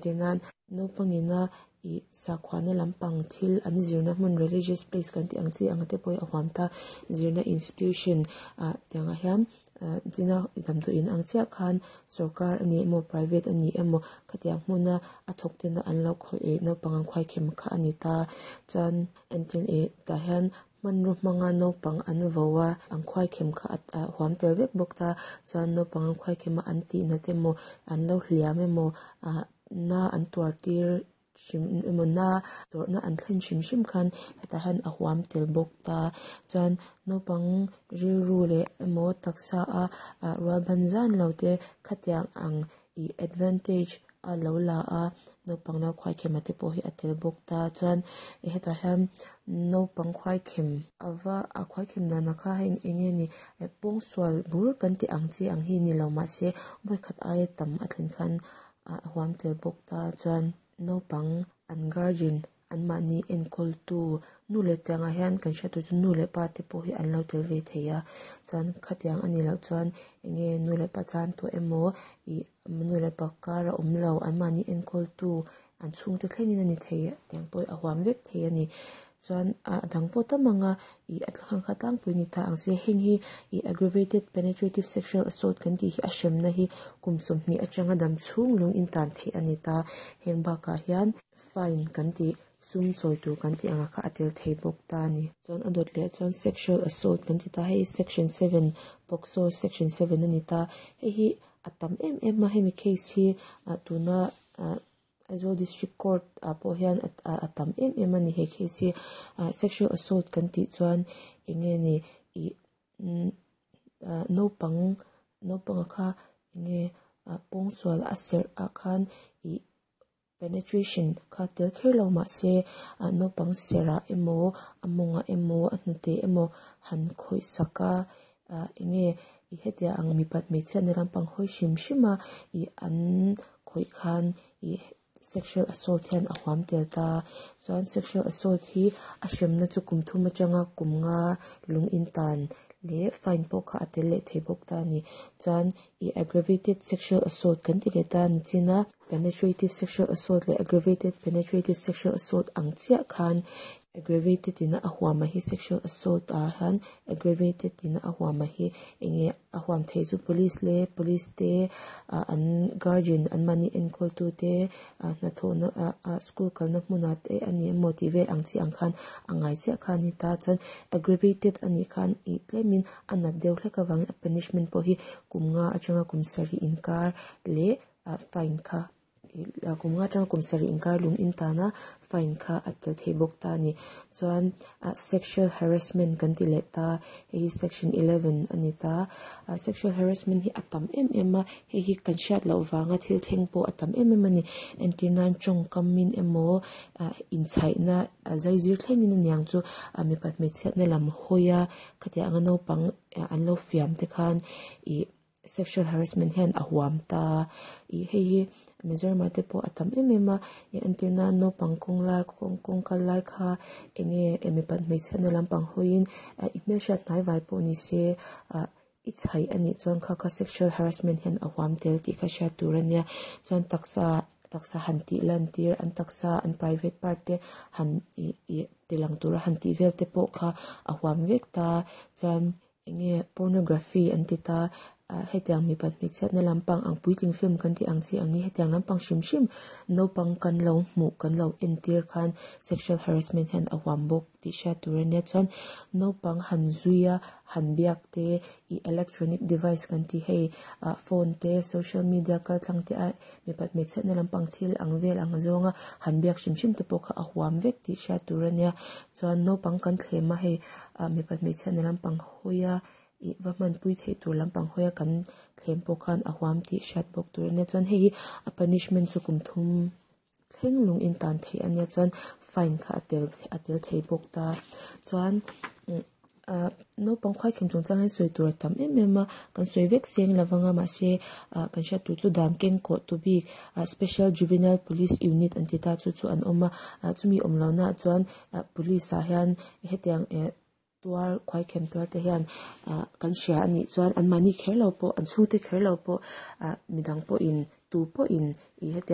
Entir nan naupang ina ih sakhuana lampang thil an zirna hmun religious place kan tih ang chi ang te pawh hi a huam ta zirna institution ah tiang ah hian ah china damdawiin ang chiah khan sawrkar ani emaw private ani emaw khatiang hmuna a thawk tena an lo khawih ih naupang an khuaikhem kha ani ta chuan entir ih tah hian hmanraw hmanga naupang an vo a an khuaikhem kha a huam tel vek bawk ta chuan naupang an khuaikhem a an tih nat emaw an lo hliam emaw ah na an tuar tir hrim emaw na tawrhna an thlen hrim hrim khan hetah hian a huam tel bawk ta chuan naupang rilru leh emaw taksa a ah rual ban zan lo te khatiang ang ih advantage a lo la a naupang lo khuaikhem a te pawh hi a tel bawk ta chuan hetah hian naupang khuaikhem ava a khuaikhem dan ah kha hei eng nge ni pawngsual bur kan tih ang chi ang hi ni lo mahse vawikhat aia tam a thlen khan a huam tel bawk ta chuan naupang an guardian an mahni enkawl tu nu leh tiang ah hian kan hriat tur chu nu leh pa te pawh hi an lo tel ve thei a chuan khatiang a nih loh chuan eng nge nu leh pa chan tawh emaw ih nu leh pa kar a awm lo an mahni enkawl tu an chhungte thlengin a ni thei tiang pawh hi a huam vek thei a ni chuan a dang pawh tam ang a ih a thlang kha tlangpui ni ta ang se heng hi ih aggravated penetrative sexual assault kan tih hi a hremna hi kum 20 atanga dam chhung lung in tan theih a ni ta heng bakah hian fine kan tih sum chawi tur kan tih anga kha a tel thei bawk ta a ni. Chuan a dawt leh chuan sexual assault kan ti ta hei section 7 POCSO section 7 a ni ta hei hi a tam em em a hemi case hi tuna Aizawl District Court ah pawh hian a tam em em a ni he case hi sexual assault kan tih chuan eng nge ni ih naupang naupanga kha eng nge pawngsual a serh ah khan ih penetration kha tel kher lo mahse naupang serh ah emaw a mawngah emaw a hnute emaw han khawih sak a eng nge ih hetiang ang mipat hmeichhia na lampang hawi hrim hrim a ih an khawih khan ih sexual assault hian a huam tel ta chuan sexual assault hi a hremna chu kum 3 atanga kum 5 lung in tan leh fine pawh kha a tel leh thei bawk ta ani chuan ih aggravated sexual assault kan ti leh ta ni china penetrative sexual assault leh aggravated penetrative sexual assault ang chiah khan aggravated in a huam a hi sexual assault ah hian aggravated in a huam a hi eng nge a huam thei chu police leh police te an guardian an mahni enkawl tu te hnathawhna school kalna hmunah te ani emaw tih vel ang chi ang khan a ngai chiah kha ani ta chuan aggravated anih khan ih tlemin a nat deuh hlek avangin a punishment pawh hi kum 5 atanga kum 7 inkar leh fine kha kum 5 atanga kum 7 inkar lung in tana fine kha a tel thei bawk ta ani chuan sexual harassment kan ti leh ta hei hi section 11 ani ta sexual harassment hi a tam em em a hei hi kan hriat loh wanga thil thleng pawh a tam em em ani entir nan tawngkamin emaw inchhaihna zaizir thlengin aniang chu mipat hmeichhiatna lam hawi a khatiang anga naupang an lo fiam te khan ih sexual harassment hian a huam ta ih hei hi Mizoram te pawh a tam em em a entir nan naupang kawng lai kawng kal lai kha eng nge mipat hmeichhiatna lampang hawiin i hmelhriat hnai vai pawh ni se i chhaih anih chuan kha kha sexual harassment hian a huam tel tih kha hriat tur ania chuan taksa taksa han tih lan tir an taksa an private part te han ih ih tilang tura han tih vel te pawh kha a huam vek ta chuan eng nge pornography an ti ta hetiang mipat hmeichhiatna lampang ang puitling film kan tih ang chi ang hi hetiang lampang hrim hrim naupang kan lo hmuh kan lo entir khan sexual harassment hian a huam bawk tih hriat tur ania chuan naupang han zuia han biak te ih electronic device kan tih hei phone te social media kal tlang te a mipat hmeichhiatna lampang thil ang vel ang zawnga han biak hrim hrim te pawh kha a huam vek tih hriat tur ania chuan naupang kan thlem a hei mipat hmeichhiatna lampang hawia ih va hmanpui theih tur lampang hawia kan thlem pawh khan a huam tih hriat bawk tur ania chuan hei hi a punishment chu kum 3 thleng lung in tan theih ania chuan fine kha a tel thei bawk ta chuan naupang khuaikhem chungchang hian sawi tur a tam em em a kan sawi vek seng lovanga mahse kan hriat tur chu dan keng kawh tu bik special juvenile police unit an ti ta chu chu an awm a chumi awm lo na chuan police ah hian hetiang tuar khuaikhem tuar te hian kan hria anih chuan an mahni kher lo pawh an chhungte kher lo pawh midang pawhin tu pawhin ih hetiang.